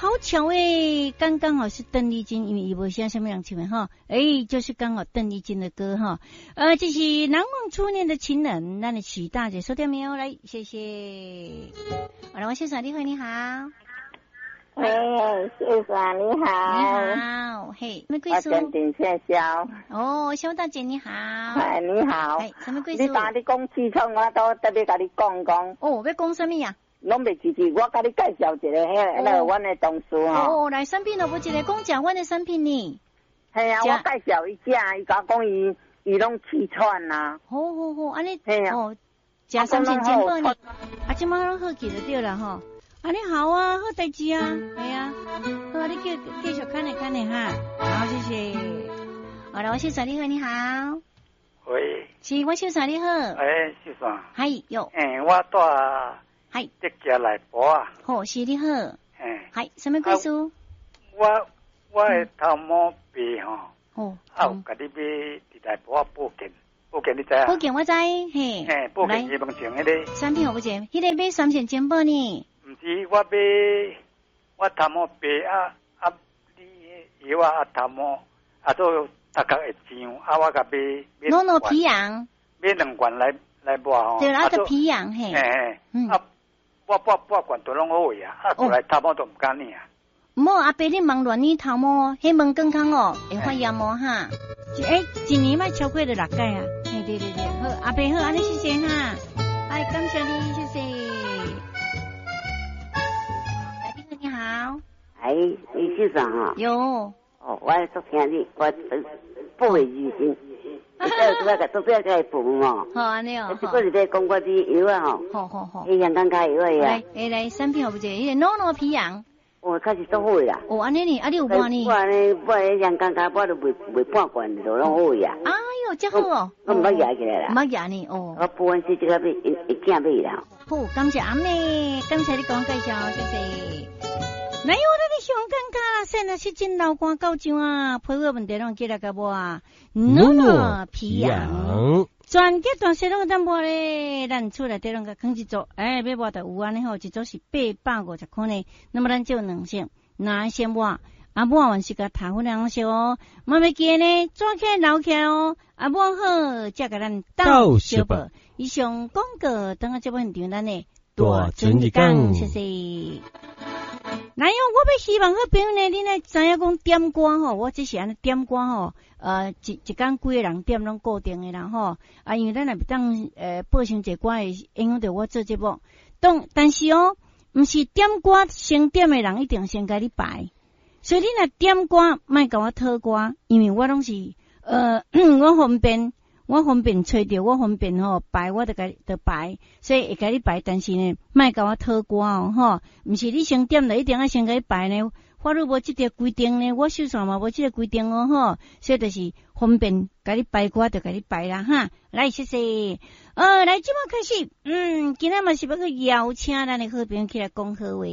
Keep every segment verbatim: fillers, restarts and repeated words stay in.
好巧誒，剛剛好是鄧麗君，因為伊無寫啥物人唱的吼，欸，就是剛好鄧麗君的歌哈。呃，這是難忘初戀的情人，咱的許大姐收聽沒有？來，謝謝。好了，王先生，你好，你好。哎，先生你好。你好，嘿，什麼貴姓？我陳姓蕭。哦，蕭大姐你好。哎，你好。哎，什麼貴姓？你當你講痔瘡，我都特別共你講講。哦，欲講啥物啊？攏袂記記，我共你介紹一個，彼個那個阮的同事吼。哦，來產品咯，無一個講食阮的產品呢。嘿啊，我介紹伊食，伊共我講伊伊攏氣喘啊。好好好，按呢，哦，食三線健保呢，啊，這馬攏好起就對啦吼。啊，你好啊，好代誌啊，係啊，好啊，你繼繼續看咧看咧哈，好，謝謝。好啦，王先生你好，你好。喂。是，王先生你好。欸，先生。係喲。欸，我住。係。德家內埔啊。好，是你好。欸。係，啥物貴姓？我我的頭毛病吼。哦。啊，有共你買佇內埔啊保健，保健你知影？保健我知，嘿。嘿，保健伊門前彼个。產品有無一個？彼个買三線珍寶呢？毋是，我買我頭毛白啊啊！你藥啊頭毛啊做頭殼會脹啊！我共買買。諾諾皮癢。買兩罐來來抹吼。對啦，啊，皮癢嘿。嘿嘿。啊，抹半半罐都攏好去啊！啊，過來頭毛都毋敢領啊。毋好，阿伯你茫亂捏頭毛，彼毛健康哦，會發炎哦哈。欸，一年莫超過著六擺啊。嘿，對對對，好，阿伯好，按呢謝謝哈。哎，感謝你，謝謝。你好，哎，李先生哈，有，哦，我昨聽你，我不會疑心，這個做這個個報哦，好按呢哦，這個是咧講我啲藥啊吼，好好好，彼香港跤藥啊，來，來來，產品有無一個，彼個諾諾皮癢，哦，確實足好啦，哦，按呢呢，啊你有抹呢？我按呢，抹彼香港跤抹都袂袂半罐就攏好呀。哎喲，這好哦，我毋捌壓起來啦，毋捌壓呢，哦，我補完是這個買一一件買啦。好，感謝阿妹，感謝你講介紹，謝謝。來喲，咱的香港跤啦，現在是真流汗到上啊，皮膚問題攏起來共抹啊，諾諾皮癢，全家大細攏會當抹咧，咱厝內底攏共囥一組，欸，欲抹就有按呢吼，一組是八百五十箍呢。那麼咱就兩色，哪先抹？啊，抹完是共塗粉紅色哦，嘛袂記呢，抓起來留起來哦，啊，抹好才共咱鬥相報。以上廣告，等下節目現場咱的大尊一講，謝謝。來喲，我欲希望好朋友呢，恁愛知影講點歌吼，我這是按呢點歌吼，呃，一一工幾個人點攏固定的啦吼，啊，因為咱若袂當呃播傷濟歌會影響著我做節目。當但是哦，毋是點歌先點的人一定先共你排，所以你若點歌，莫共我討歌，因為我攏是呃，我方便，我方便揣著，我方便吼排，我就共就排，所以會共你排，但是呢，莫共我討歌哦，吼，毋是你先點就一定愛先共你排呢，法律無這條規定呢，我手上嘛無這個規定哦，吼，所以就是方便共你排歌就共你排啦，哈，來謝謝，呃，來這馬開始，嗯，今仔嘛是欲去邀請咱的好朋友起來講好話，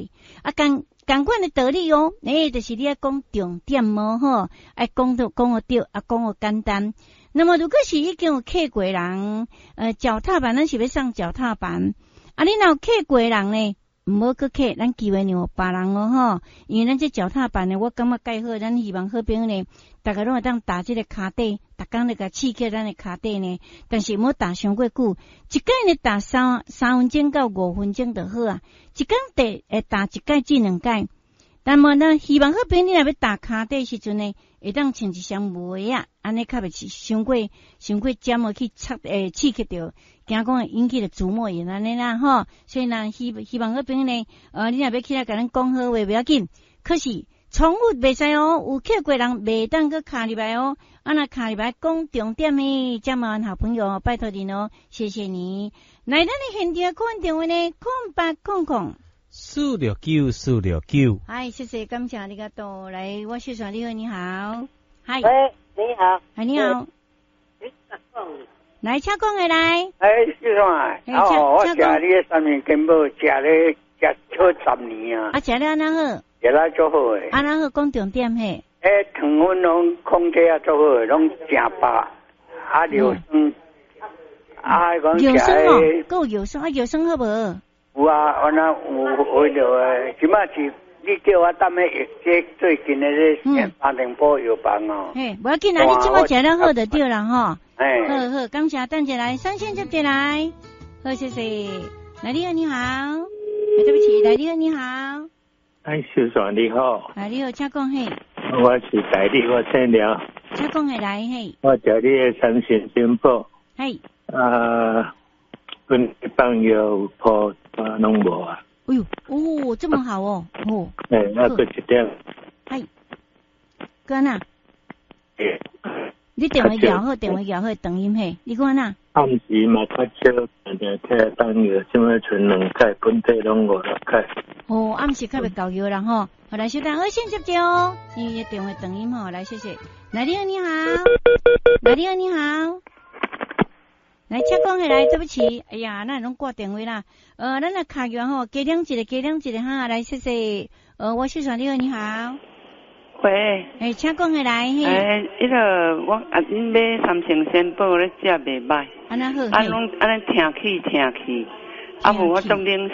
啊，仝仝款的道理哦，欸，就是你愛講重點哦，吼，愛講到講予對，啊，講予簡單。那麼如果是已經有磕過人，呃，腳踏板，咱是欲送腳踏板，啊，你若有磕過人呢，毋好閣磕，咱機會讓予別人哦，吼，因為咱這腳踏板呢，我感覺蓋好，咱希望好朋友呢，逐家攏會當踏這個跤底，逐工咧共刺激咱的跤底呢，但是毋好踏傷過久，一擺呢踏三三分鐘到五分鐘就好啊，一工踏會踏一擺至兩擺。但嘛呢，希望好朋友你若欲踏跤底時陣呢，會當穿一雙襪仔，按呢較袂傷過傷過尖哦去插欸刺激著，驚講會引起著腹膜炎按呢啦吼。所以呢，希希望好朋友呢，呃，你若欲起來共咱講好話袂要緊，可是重複袂使哦，有磕過人袂當閣敲入來哦。啊，若敲入來講重點的，這麻煩好朋友拜託恁哦，謝謝你。來，咱的現場款電話呢，空八空空。四六九四六九。嗨，謝謝，感謝你個到來，我小小你好，你好，嗨，喂，你好，嗨，你好，來，請講的來，哎，小帥，哦，我食你的三明健寶，食咧食好十年啊，啊，食了按怎好？食了足好的，按怎好？講重點嘿。欸，糖分攏控制啊足好的，攏誠飽，啊尿酸，啊講尿酸哦，閣有尿酸啊，尿酸好無？有啊，我那有為著的，這馬是你叫我踮咧這最近的這三重埔藥房哦。嘿，無要緊啦，你這擺食了好就對啦吼。嘿。好好，感謝，等一下來，三線接進來。好，謝謝。來，你好，你好。欸，對不起，來，你好，你好。哎，秀爽你好。啊，你好，請講嘿。我是代理，我姓廖。請講下來嘿。我食你的三星珍寶。嘿。啊，阮放藥鋪啊，攏無啊。哎喲，哦，這麼好哦，哦。欸，啊，閣一點。係。閣哪？你電話搖好，電話搖好，斷音嘿，你講哪？暗時嘛較少，定定起來放藥，這擺賰兩擺，本體攏五六擺。哦，暗時較袂夠藥啦吼。好，來，稍等，好，先接著哦。你的電話斷音吼，來，謝謝。來，你好，你好。來，你好，你好。來，請講下來，對不起，哎呀，咱攏掛電話啦。呃，咱來卡完吼，加兩一個，加兩一個哈，來，謝謝。呃，我是說，你好，你好。喂。欸，請講下來。欸，彼個我啊，恁買三星仙寶咧食袂䆀。按呢好。啊，攏按呢聽起聽去，啊無我足冷。